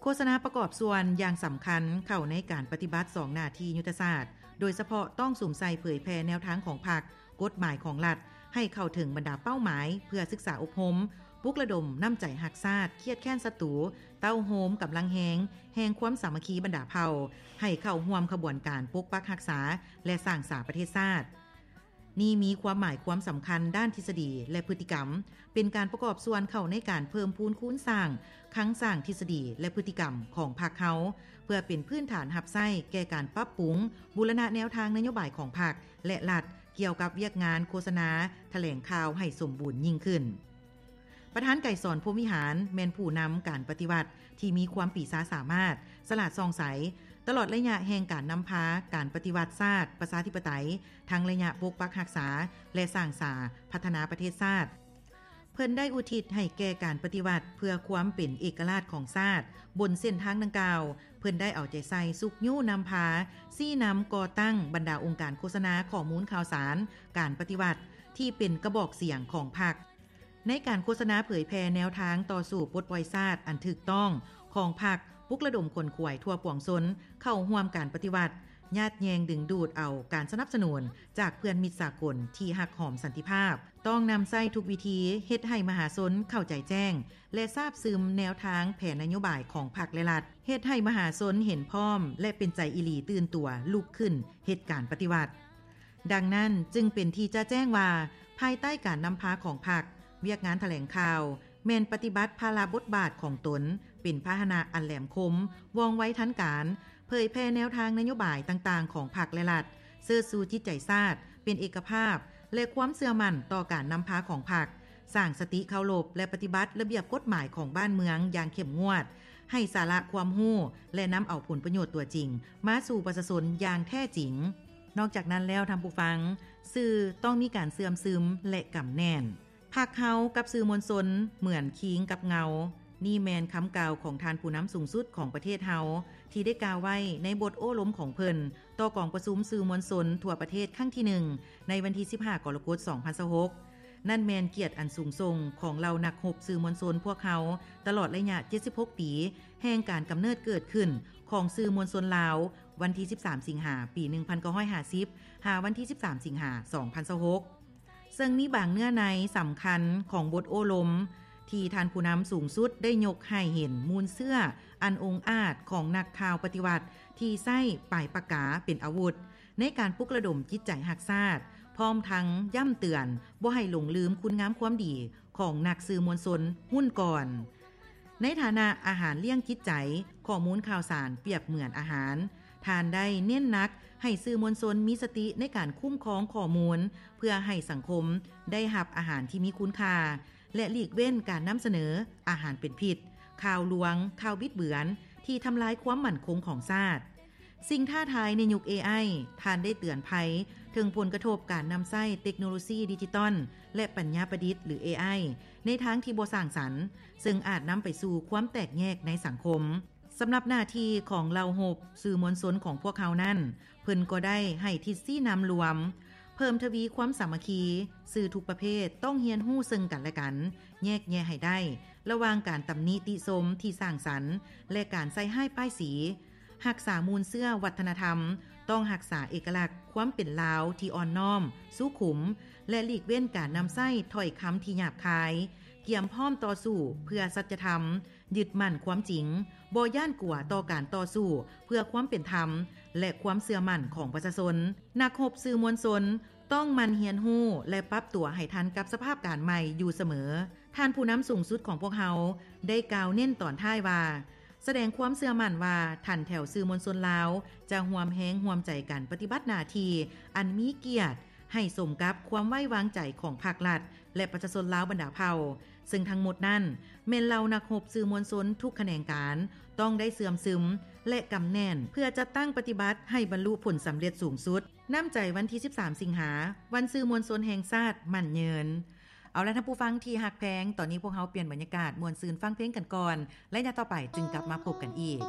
ໂຄສະນາປະກອບສ່ວນຢ່າງສຳຄັນເຂົ້າໃນການປະຕິບັດສອງໜ້າທີ່ຍຸດທະສາດ, ໂດຍສະເພາະຕ້ອງສຸມໃສ່ເຜີຍແຜ່ແນວທາງຂອງພັກ, ກົດໝາຍຂອງລັດ ໃຫ້ເຂົ້າເຖິງບັນດາເປົ້າໝາຍເພື່ອສຶກສາອົບຮົມ, ປຸກລະດົມນ້ຳໃຈຮັກຊາດ, ຄຽດແຄ້ນສັດຕູ, ເຕົ້າໂຮມກຳລັງແຮງແຫ່ງຄວາມສາມັກຄີບັນດາເຜົ່າ ໃຫ້ເຂົ້າຮ່ວມຂະບວນການປົກປັກຮັກສາ ແລະ ສ້າງສາປະເທດຊາດ. ນີ້ມີຄວາມໝາຍຄວາມສຳຄັນດ້ານທິດສະດີ ແລະ ພຶດຕິກຳ, ເປັນການປະກອບສ່ວນເຂົ້າໃນການເພີ່ມພູນຄູນສ້າງຄັງສ້າງທິດສະດີ ແລະ ພຶດຕິກຳຂອງພັກເຮົາ ເພື່ອເປັນພື້ນຖານຮັບໃຊ້ແກ່ການປັບປຸງບູລະນະແນວທາງນະໂຍບາຍຂອງພັກ ແລະ ລັດ ກ່ຽວກັບວຽກງານໂຄສະນາ, ຖະແຫຼງຂ່າວໃຫ້ສົມບູນຍິ່ງຂຶ້ນ. ປະທານໄກສອນ ພົມວິຫານ ແມ່ນຜູ້ນຳການປະຕິວັດທີ່ມີຄວາມປີຊາສາມາດ, ສະຫຼາດສ່ອງໃສ, ຕະຫຼອດໄລຍະແຫ່ງການນຳພາການປະຕິວັດຊາດປະຊາທິປະໄຕ ທັງໄລຍະປົກປັກຮັກສາ ແລະ ສ້າງສາພັດທະນາປະເທດຊາດ. ເພິ່ນໄດ້ອຸທິດໃຫ້ແກ່ການປະຕິວັດເພື່ອຄວາມເປັນເອກະລາດຂອງຊາດ. ບົນເສັ້ນທາງດັ່ງກ່າວ, ເພິ່ນໄດ້ເອົາໃຈໃສ່ຊຸກຍູ້ນຳພາ, ຊີ້ນຳກໍ່ຕັ້ງບັນດາອົງການໂຄສະນາຂໍ້ມູນຂ່າວສານການປະຕິວັດ ທີ່ເປັນກະບອກສຽງຂອງພັກ ໃນການໂຄສະນາເຜີຍແຜ່ແນວທາງຕໍ່ສູ້ປົດປ່ອຍຊາດອັນຖືກຕ້ອງຂອງພັກ, ປຸກລະດົມຂົນຂວາຍທົ່ວປວງຊົນເຂົ້າຮ່ວມການປະຕິວັດ, ຍາດແຍ່ງດຶງດູດເອົາການສະໜັບສະໜູນຈາກເພື່ອນມິດສາກົນທີ່ຮັກຫອມສັນຕິພາບ. ຕ້ອງນຳໃຊ້ທຸກວິທີເຮັດໃຫ້ມະຫາຊົນເຂົ້າໃຈແຈ້ງ ແລະ ຊາບຊຶມແນວທາງແຜນນະໂຍບາຍຂອງພັກ ແລະ ລັດ, ເຮັດໃຫ້ມະຫາຊົນເຫັນພ້ອມ ແລະ ເປັນໃຈອີ່ຫຼີຕື່ນຕົວລຸກຂຶ້ນເຮັດການປະຕິວັດ. ດັ່ງນັ້ນຈຶ່ງເປັນທີ່ຈະແຈ້ງວ່າ, ພາຍໃຕ້ການນຳພາຂອງພັກ, ວຽກງານຖະແຫຼງຂ່າວ ແມ່ນປະຕິບັດພາລະບົດບາດຂອງຕົນເປັນພາຫະນະອັນແຫຼມຄົມ, ວ່ອງໄວທັນການ, ເຜີຍແຜ່ແນວທາງນະໂຍບາຍຕ່າງໆຂອງພັກ ແລະ ລັດ, ເຊີດຊູຈິດໃຈຊາດ, ເປັນເອກະພາບ ແລະ ຄວາມເຊື່ອໝັ້ນຕໍ່ການນຳພາຂອງພັກ, ສ້າງສະຕິເຄົາລົບ ແລະ ປະຕິບັດລະບຽບກົດໝາຍຂອງບ້ານເມືອງຢ່າງເຂັ້ມງວດ, ໃຫ້ສາລະຄວາມຮູ້ ແລະ ນຳເອົາຜົນປະໂຫຍດຕົວຈິງມາສູ່ປະຊາຊົນຢ່າງແທ້ຈິງ. ນອກຈາກນັ້ນແລ້ວ, ທ່ານຜູ້ຟັງ, ສື່ຕ້ອງມີການເຊື່ອມຊຶມ ແລະ ກຳແໜ້ນ. ພັກເຮົາກັບສື່ມວນຊົນເໝືອນຄີງກັບເງົາ. ນີ້ແມ່ນຄຳກ່າວຂອງທ່ານຜູ້ນຳສູງສຸດຂອງປະເທດເຮົາ ທີ່ໄດ້ກ່າວໄວ້ໃນບົດໂອ້ລົມຂອງເພິ່ນຕໍ່ກອງປະຊຸມສື່ມວນຊົນທົ່ວປະເທດຄັ້ງທີໜຶ່ງ ໃນວັນທີສິບຫ້າ ກໍລະກົດ ສອງພັນຊາວຫົກ. ນັ້ນແມ່ນກຽດອັນສູງສົ່ງຂອງເຫຼົ່ານັກຮົບສື່ມວນຊົນພວກເຮົາຕະຫຼອດໄລຍະເຈັດສິບຫົກປີ ແຫ່ງການກຳເນີດເກີດຂຶ້ນຂອງສື່ມວນຊົນລາວ ວັນທີສິບສາມ ສິງຫາ ປີໜຶ່ງພັນເກົ້າຮ້ອຍຫ້າສິບ ຫາວັນທີສິບສາມ ສິງຫາ ສອງພັນຊາວຫົກ. ເຊິ່ງມີບາງເນື້ອໃນສຳຄັນຂອງບົດໂອ້ລົມ ທີ່ທ່ານຜູ້ນຳສູງສຸດໄດ້ຍົກໃຫ້ເຫັນມູນເຊື້ອອັນອົງອາດຂອງນັກຂ່າວປະຕິວັດທີ່ໃຊ້ປາຍປາກກາເປັນອາວຸດ ໃນການປຸກລະດົມຈິດໃຈຮັກຊາດ, ພ້ອມທັງຢ້ຳເຕືອນບໍ່ໃຫ້ຫຼົງລືມຄຸນງາມຄວາມດີຂອງນັກສື່ມວນຊົນຮຸ່ນກ່ອນ. ໃນຖານະອາຫານລ້ຽງຈິດໃຈ, ຂໍ້ມູນຂ່າວສານປຽບເໝືອນອາຫານ. ທ່ານໄດ້ເນັ້ນໜັກໃຫ້ສື່ມວນຊົນມີສະຕິໃນການຄຸ້ມຄອງຂໍ້ມູນ ເພື່ອໃຫ້ສັງຄົມໄດ້ຮັບອາຫານທີ່ມີຄຸນຄ່າ ແລະ ຫຼີກເວັ້ນການນຳສະເໜີອາຫານເປັນພິດ, ຂ່າວລວງ, ຂ່າວບິດເບືອນທີ່ທຳລາຍຄວາມໝັ້ນຄົງຂອງຊາດ. ສິ່ງທ້າທາຍໃນຍຸກ ເອໄອ, ທ່ານໄດ້ເຕືອນໄພເຖິງຜົນກະທົບການນຳໃຊ້ເຕັກໂນໂລຊີດິຈິຕອນ ແລະ ປັນຍາປະດິດ ຫຼື ເອໄອ ໃນທາງທີ່ບໍ່ສ້າງສັນ, ເຊິ່ງອາດນຳໄປສູ່ຄວາມແຕກແຍກໃນສັງຄົມ. ສຳລັບໜ້າທີ່ຂອງເຫຼົ່າຮົບສື່ມວນຊົນຂອງພວກເຮົານັ້ນ, ເພິ່ນກໍໄດ້ໃຫ້ທິດຊີ້ນຳລວມ, ເພີ່ມທະວີຄວາມສາມັກຄີ, ສື່ທຸກປະເພດຕ້ອງຮຽນຮູ້ເຊິ່ງກັນ ແລະ ກັນ, ແຍກແຍະໃຫ້ໄດ້ ລະຫວ່າງການຕຳໜິຕິຊົມທີ່ສ້າງສັນ ແລະ ການໃສ່ຮ້າຍປ້າຍສີ. ຮັກສາມູນເຊື້ອວັດທະນະທຳ, ຕ້ອງຮັກສາເອກະລັກຄວາມເປັນລາວທີ່ອ່ອນນ້ອມ, ສຸຂຸມ ແລະ ຫຼີກເວັ້ນການນຳໃຊ້ຖ້ອຍຄຳທີ່ຫຍາບຄາຍ, ກຽມພ້ອມຕໍ່ສູ້ເພື່ອສັດຈະທຳ, ຍຶດໝັ້ນຄວາມຈິງ, ບໍ່ຢ້ານກົວຕໍ່ການຕໍ່ສູ້ເພື່ອຄວາມເປັນທຳ ແລະ ຄວາມເຊື່ອໝັ້ນຂອງປະຊາຊົນ. ນັກຮົບສື່ມວນຊົນຕ້ອງໝັ່ນຮຽນຮູ້ ແລະ ປັບຕົວໃຫ້ທັນກັບສະພາບການໃໝ່ຢູ່ສະເໝີ. ທ່ານຜູ້ນຳສູງສຸດຂອງພວກເຮົາໄດ້ກ່າວເນັ້ນຕອນທ້າຍວ່າ, ສະແດງຄວາມເຊື່ອໝັ້ນວ່າຖັນແຖວສື່ມວນຊົນລາວຈະຮ່ວມແຮງຮ່ວມໃຈກັນປະຕິບັດໜ້າທີ່ອັນມີກຽດ ໃຫ້ສົມກັບຄວາມໄວ້ວາງໃຈຂອງພັກລັດ ແລະ ປະຊາຊົນລາວບັນດາເຜົ່າ, ເຊິ່ງທັງໝົດນັ້ນແມ່ນເຫຼົ່ານັກຮົບສື່ມວນຊົນທຸກຂະແໜງການ ຕ້ອງໄດ້ເຊື່ອມຊຶມ ແລະ ກຳແໜ້ນ ເພື່ອຈັດຕັ້ງປະຕິບັດໃຫ້ບັນລຸຜົນສຳເລັດສູງສຸດ. ນ້ຳໃຈວັນທີສິບສາມ ສິງຫາ, ວັນສື່ມວນຊົນແຫ່ງຊາດໝັ້ນຍືນ. ເອົາລະ ທ່ານຜູ້ຟັງທີ່ຮັກແພງ, ຕອນນີ້ພວກເຮົາປ່ຽນບັນຍາກາດມ່ວນຊື່ນຟັງເພງກັນກ່ອນ, ໄລຍະຕໍ່ໄປຈຶ່ງກັບມາພົບກັນອີກ.